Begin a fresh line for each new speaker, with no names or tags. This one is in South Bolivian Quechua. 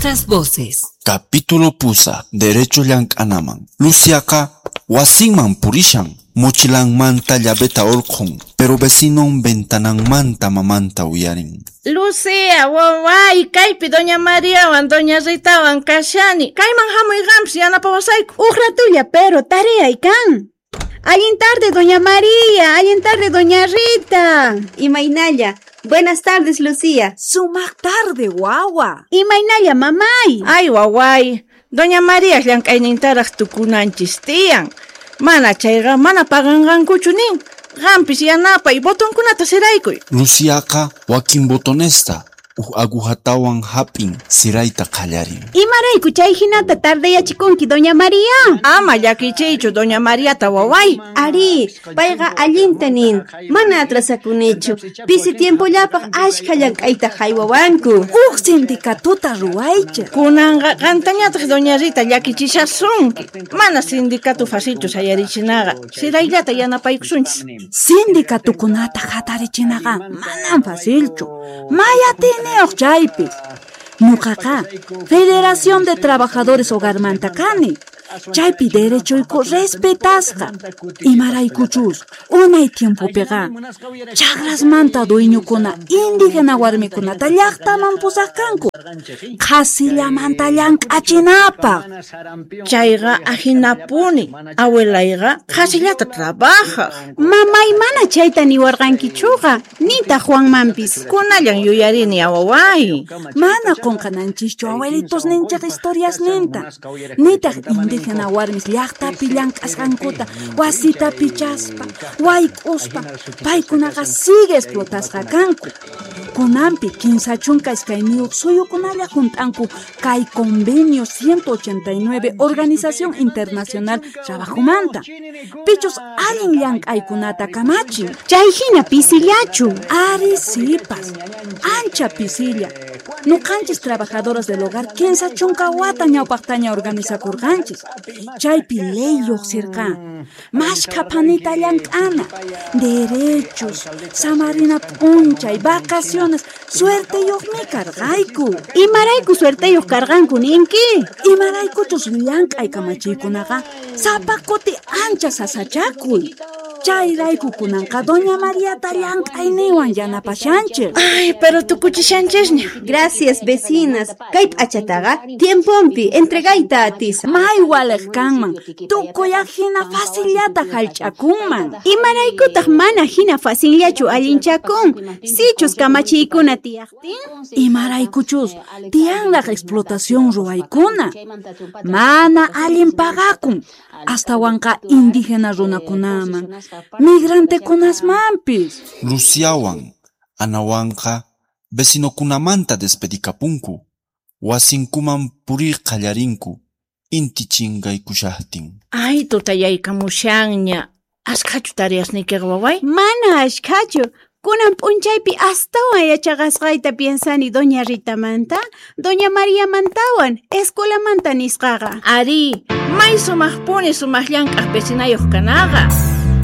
Nuestras voces.
Capítulo pusa, derecho llank'anaman. Luciaqa wasinman purishan, mochilanmanta llaveta orqhun, pero vecinon ventananmanta mamanta uyarin.
Lucía, waway, kaypi doña Mariawan, doña Ritawan kashani. Kayman hamuy qampis yanapawasayku.
Uj ratulla, pero tareay kan. Allin tarde, doña María. Allin tarde, doña Rita.
Imaynalla. Buenas tardes, Lucía.
Sumaq tarde, wawa.
Imaynalla, mamay.
Ay, waway. Doña María llank'aynintaraq tukunanchis tiyan. Mana chayqa mana paganqankuchu nin. Qampis yanapay botonkunata siraykuy.
Luciaqa wakin botonesta uj agujatawan hap'in sirayta qallarin.
Imarayku chay hinata tardeyachikunki, doña María.
Ama llakichiychu doña Mariata, waway.
Ari, payqa allinta nin. Mana atrasakunichu. Pisi tiempollapaq ashkha llank'ayta haywawanku.
Uj sindicatuta ruwaychej.
Kunanqa qantañataq doña Rita llakichishasunki. Mana sindicato facilchu sayarichinaqa. Sirayllata yanapaykusunchis.
Sindicatukunata hatarichinaqa manam facilchu. May atiyniyuq chaypis. Ñuqaqa Federación de Trabajadores Hogarmanta kani. Chaypi derechoyku respetasqa. Imaraykuchus unay tiempopiqa chakrasmanta dueñokuna indígena warmikunata llaqtaman pusaq kanku. Qhasillamanta llank'achinapaq.
Chayqa ahinapuni. Abuelayqa qhasillata trabajaq.
Mamay mana chayta niwarqankichuqa, nitaq Juanmanpis.
Kunallan yuyarini, waway.
Mana qunqananchischu abuelitos ninchej historiasninta. Nitaq indígena warmis llaqtapi llank'asqankuta wasita pichaspa, wayk'uspa, paykunaqa sigue explotasqa kanku. Kunanpi 32 suyukunalla junt'anku kay convenio 189 Organización Internacional Trabajomanta. Pichus allin llank'aykunata kamachin.
Chay hina pisillachu.
Ari sipas, ancha pisilla. Nuqanchis trabajadoras del hogar 30 wata ñawpaqtaña organizakurqanchis. Chaypi ley lluqsirqa. Mashkha phanita llank'ana, derechos, samarina p'unchay, vacaciones, suerteyuqmi karqayku.
Imarayku suerteyuq karqanku ninki?
Imaraykuchus llank'ay kamachiykunaqa sapa kuti ancha sasachakuy. Chayrayku kunanqa doña Mariata llank'ayninwan yanapashanchik.
Ay, pero tukuchishanchisña.
Gracias, vecinas. Kay p'achataqa tiempompi entregayta atisa.
May waliq kanman. Tukuy hina facillata hallch'akunman.
Imaraykutaq mana hina facillachu allinchakun. Sichus kamachiykuna tiyaqtin.
Imaraykuchus tiyanraq explotación ruwaykuna. Mana allin pagakun. Astawanqa indígena runakunaman, migrantekunasmanpis.
Luciawan, Anawanqa vecinokunamanta despedikapunku. Wasinkuman purir qallarinku, inti chinkaykushaqtin.
Ay, tutayaykamushanña. Ashkhachu tareasniykiqa, waway?
Mana ashkhachu. Kunan p'unchaypi astawan yachaqasqayta piensani doña Ritamanta, doña Mariamantawan, escuelamanta nisqaqa.
Ari, may sumaqpuni sumaq llank'aq vecinayuq kanaqa.